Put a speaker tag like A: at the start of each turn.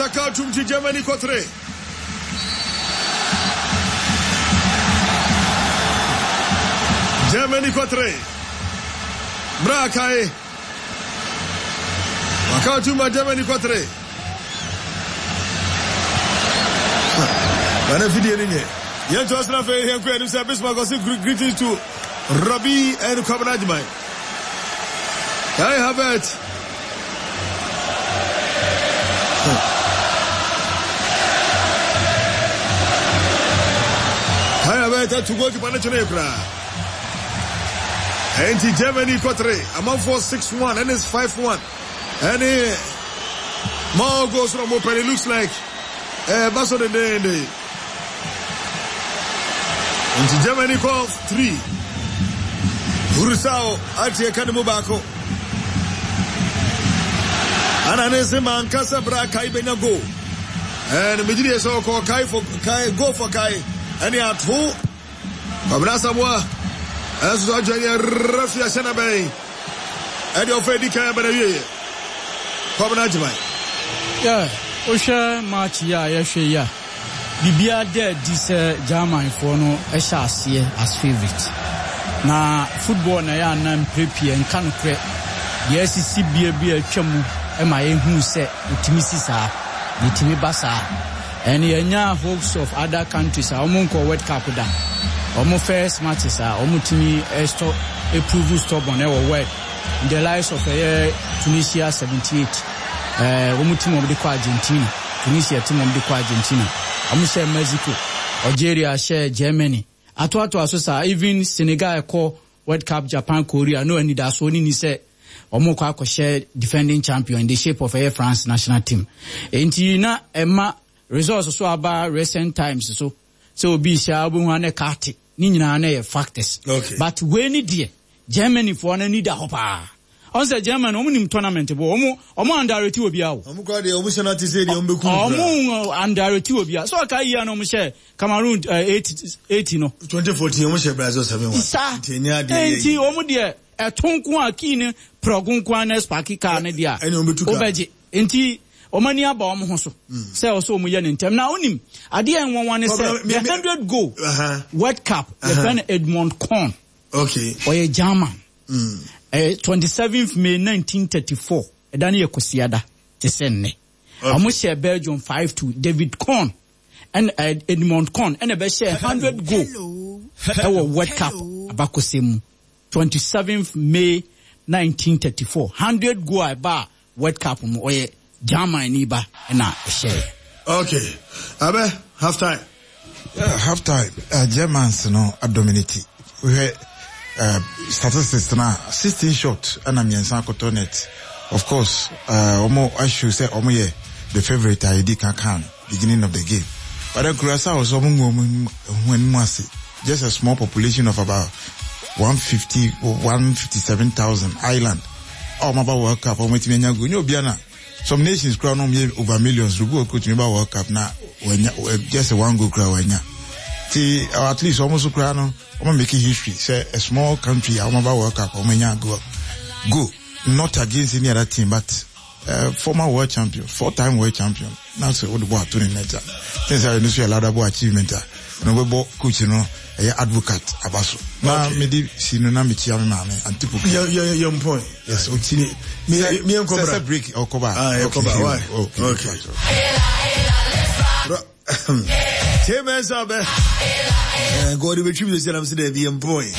A: Havertz aka atum ti Germany kɔ 3. Germany kɔ 3. Bra kae. Waka atum ma Germany kɔ 3. Bana fidie no nyɛ. Yɛn to asena afei yɛn kɔ anim sɛ Bismarck ɔse greetings to Rabi and Kwabena Agyeman. Kai Havertz. Kai Havertz atu goalkeeper no twene koraa. Ɛnti Germany kɔ 3, amanfoɔ 6-1 ɛne 5-1 ɛne more goals na ɔmo pɛ. It looks like ɛɛba so dendeenden. Nti Germany kɔ 3. Curacao ate ɛka ne mu baako. Ana ne se manka sɛ bra Kai benya goal. Ɛn megye die sɛ ɔkɔ Kai for Kai goal for Kai ɛne ato Kwabena Asamoah ɛnso so adwa yɛ refi ahyɛ na bɛn ɛde ɔfa edi kan abɛn awieɛ Kwabena Agyeman.
B: Yeah, wohwɛ match yi a yɛhwɛ yi a, biribiara da adi sɛ Germanfoɔ no hyɛ aseɛ as favourite. Na football na ɛyɛ a na mprɛ pii ɛnka nokorɛ. Deɛ asisi bia bi a atwa mu ma yɛhunu sɛ ɛtumi si saa, na ɛtumi ba saa. And yɛnya hopes of other countries a wɔn nkɔ World Cup da. Wɔn first matches a wɔn tumi stɔ prove stubborn ɛwɔ world. The likes of ɛyɛ Tunisia 78, ɛɛ wɔn team wɔn de kɔ Argentina, Tunisia team wɔn de kɔ Argentina. Wɔn hyɛ Mexico, Algeria hyɛ Germany. Atoatoa so saa, even Senegal ɛkɔ World Cup Japan Korea no anidasoɔ no ni sɛ wɔn kɔ akɔhyɛ defending champion in the shape of ɛyɛ France national team. Enti na ɛma results so aba recent times so sɛ obi hyɛ a wobɛhu a na ɛka ate ne nyinaa na ɛyɛ factors.
A: Okay.
B: But wei ne deɛ Germany foɔ no ani da hɔ paa. Ɔn sɛ Germany wɔn nim tournament bɔ wɔn wɔn underrate obiara o.
A: Wɔn kora deɛ wɔn hyɛ no ate sɛ deɛ wɔn bɛkum koraa.
B: Wɔn underrate obiara. So ɔka yie a na wɔn hyɛ Cameroon 80 80 no.
A: 2014 wɔn hyɛ Brazil 7-1.
B: Saa.
A: Nti ɛnyɛ adeɛ yɛ
B: Nti wɔn deɛ ɛto nko a kii ne prɔgo nko a na sparki car no deɛ a.
A: Ɛne wɔn bɛtu car.
B: Wobɛgye. Nti wɔn ani aba wɔn ho so sɛ ɔsɛ wɔn yɛ ne ntɛm. Na wonim adeɛ a nwanwa ne sɛ the 100 goal World Cup yɛfrɛ no Edmund Kohn.
A: Okay.
B: Ɔyɛ German. Ɛyɛ 27th May 1934. Ɛda no yɛ Kwasiada te sɛ nnɛ. Wɔn hyɛ Belgium 5-2. David Kohn ɛna Edmund Kohn ɛna ɛbɛhyɛ 100 goal ɛwɔ World Cup abakɔsɛm mu. 27th May 1934. 100 goal a ɛbaa World Cup mu ɔyɛ German ni ba ɛna ɛhyɛɛ.
A: Okay. Abɛ half time.
C: Yeah, half time. Germans no adominate. Wohwɛ statistics na 16 shot ɛna mmiɛnsa akɔtɔ net. Of course, wɔn ahyew sɛ wɔn yɛ the favourite a yɛdi kan kan beginning of the game. But then Curacao nso wɔn ngu wɔn ho anim ase. Just a small population of about 150 157,000 island. A wɔn aba World Cup a wɔn atumi anya goal. Nyɛ obiara na some nations kura no yɛ over millions. Obi wɔ kuro tumi ba World Cup na wɔanya just one goal kura wɔanya. Ti at least wɔn nso kura no wɔn make history sɛ a small country a wɔn aba World Cup wɔn anya goal. Goal not against any other team but former world champion, four-time world champion. Na sɛ wode bɔ ato ne net a, ten sɛ ɛno nso yɛ laudable achievement a, ɛno wobɛbɔ coach no ɛyɛ advocate aba so. Na mede si no na mekyia me maame Auntie Poku.
A: Yɛ yɛ yɛ mpɔn.
C: Yes, oti.
A: Me me yɛn kɔbra.
C: Sɛ break ɔkɔba.
A: Ah, yɛ kɔba. Why?
C: Okay.
A: Okay. Tie mɛnsa bɛ. God betwi mi sɛ na mi sɛ dɛ bi yɛ mpɔn.